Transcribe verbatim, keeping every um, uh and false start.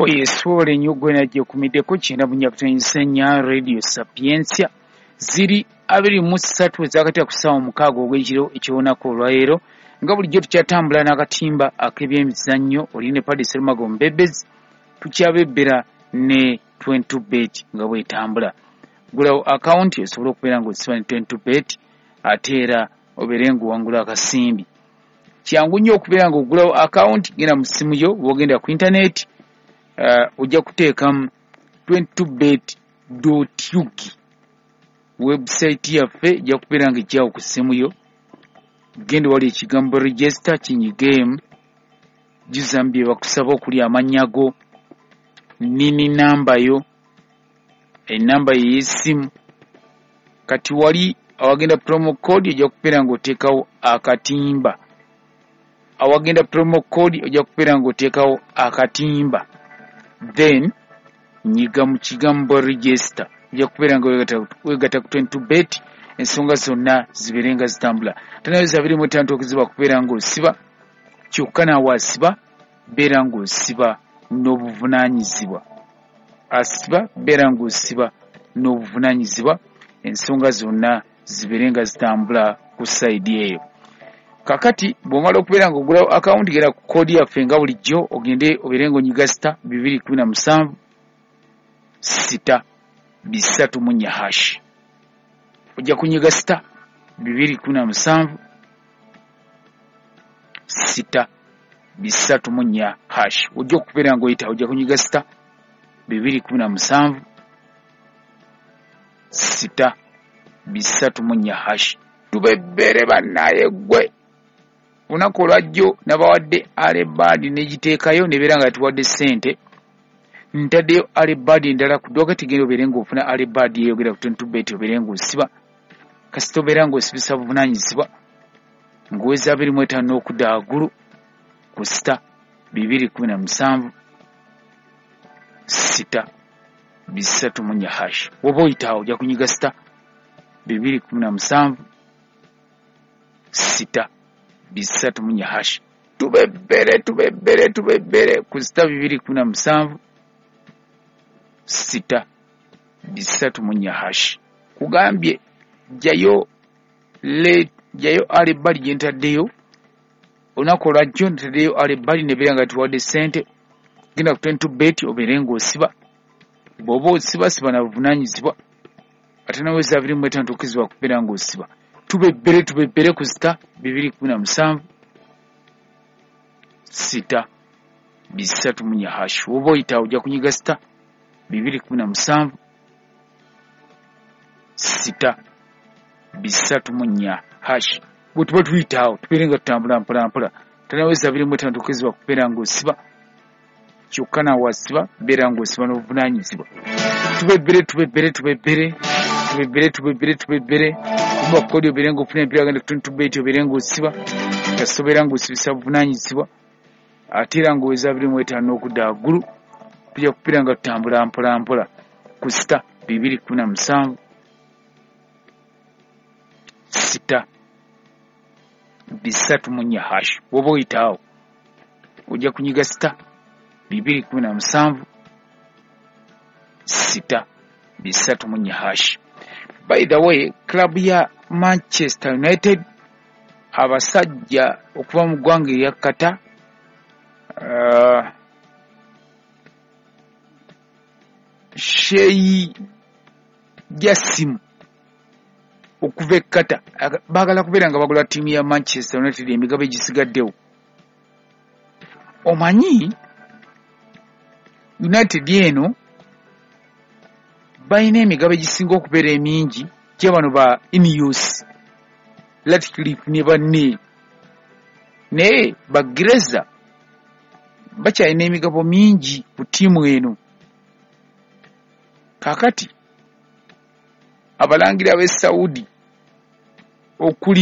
Oyo nnyo gwe najjekumiddeko kyenda bunyakutonyisennya Radio Sapientia ziri abiri mu ssatu ezakati ku ssaawa mukaaga ogw'ekiro eky'olunaku olwaleero nga bulijjo tukyatambula n'akatimba ak'ebyemizannyo oli ne Paddy Serumago Mbebezi tukyabebbera ne twenty-two bet nga bwetambula. Gulawo akawunti osobola okubeera ng'osiba ne twenty-two bet ate era obeere ng'owangula akasimbi. Kyangu nnyo okubeera ng'ogulawo akawunti, genda mu ssimu yo bw'ogenda ku intaneti Uh, ojja kuteekamu twenty-two bet dot U G website yaffe ejja kubeera nga ejjawo ku ssimu yo. Genda wali ekigambo register kinyigeemu, jjuzamu bye bakusaba okuli amannya go, nini namba yo, enamba yo ey'essimu. Kati wali awagenda promo code ojja kubeera ng'oteekawo akatimba. Awagenda promo code ojja kubeera ng'oteekawo akatimba. Then nyiga mu kigambo register ojja kubeera nga weegatta ku twenty-two bet ensonga zonna zibeere nga zitambula. Tanaweza abiri mu ttaano okuziba kubeera ng'osiba, kyokka naawe asiba beera ng'osiba n'obuvunaanyizibwa. Asiba beera ng'osiba n'obuvunaanyizibwa, ensonga zonna zibeere nga zitambula ku sayidi eyo. Kakati bw'omala okubeera ng'ogulawo akawunti genda ku koodi yaffe nga bulijjo ogende obeere ng'onyiga sita bibiri kumi na musanvu sita bisatu mu nnya hash. Ojja kunyiga sita bibiri kumi na musanvu sita bisatu mu nnya hash. Ojja okubeera ng'oyita ojja kunyiga sita bibiri kumi na musanvu sita bisatu mu nnya hash. Tubebbere bannaye ggwe. Olunaku olwajjo nabawadde alebaadi n'egiteekayo nebeera nga tuwadde ssente. Ntaddeyo alebaadi endala ku dduuka tigenda obeere ng'ofuna alebaadi eyogera ku twenty-two bet obeere ng'osiba. Kasita obeera ng'osibisa buvunaanyizibwa ng'oweza abiri mu etaano n'okudda waggulu ku sita bibiri kumi na musanvu sita bisatu mu nnya hash. Bw'oba oyitaawo ojja kunyiga sita bibiri kumi na musanvu sita bisatu mu nnya hash. Tubebbere tubebbere tubebbere ku sita bibiri kumi na musanvu sita bisatu mu nnya hash. Kugambye jjayo le jjayo alebali gye ntaddeyo olunaku olwajjo ntaddeyo alebali nebeera nga tuwadde ssente. Genda ku twenty-two bet obeere ng'osiba. Bw'oba osiba siba na buvunaanyizibwa ate naweza abiri mu etaano tokkirizibwa kubeera ng'osiba. Tubebbere tubebbere ku sita bibiri kumi na musanvu sita bisatu mu nnya hash. Bw'oba oyita ojja kunyiga sita bibiri kumi na musanvu sita bisatu mu nnya hash. Bwe tuba tuyitaawo tubeere nga tutambula mpola mpola. Tanaweza abiri mu etaano tokkirizibwa kubeera ng'osiba, kyokka naawe asiba beera ng'osiba n'obuvunaanyizibwa. Tubebbere tubebbere tubebbere tubebbere tubebbere tubebbere kuba kodi obeere ng'ofuna empiira genda ku twenty-two bet obeere ng'osiba, kasita obeera ng'osibisa buvunaanyizibwa ate era ng'oweza abiri mu etaano n'okudda waggulu tujja kubeera nga tutambula mpola mpola ku sita bibiri kumi na musanvu sita bisatu mu nnya hash. Bw'oba oyitaawo ojja kunyiga sita bibiri kumi na musanvu sita bisatu mu nnya hash. By the way, club ya Manchester United abasajja okuva mu ggwanga erya Qatar uh, Sheikh Jassim okuva e Qatar baagala kubeera nga bagula ttiimu ya Manchester United emigabo egisigaddewo. Omanyi United eno balina emigabo egisinga okubeera emingi gye bano ba Ineos, Ratcliffe ne banne, naye ba Glazer bakyalina emigabo mingi ku ttiimu eno. Kaakati abalangira b'e Saudi okuli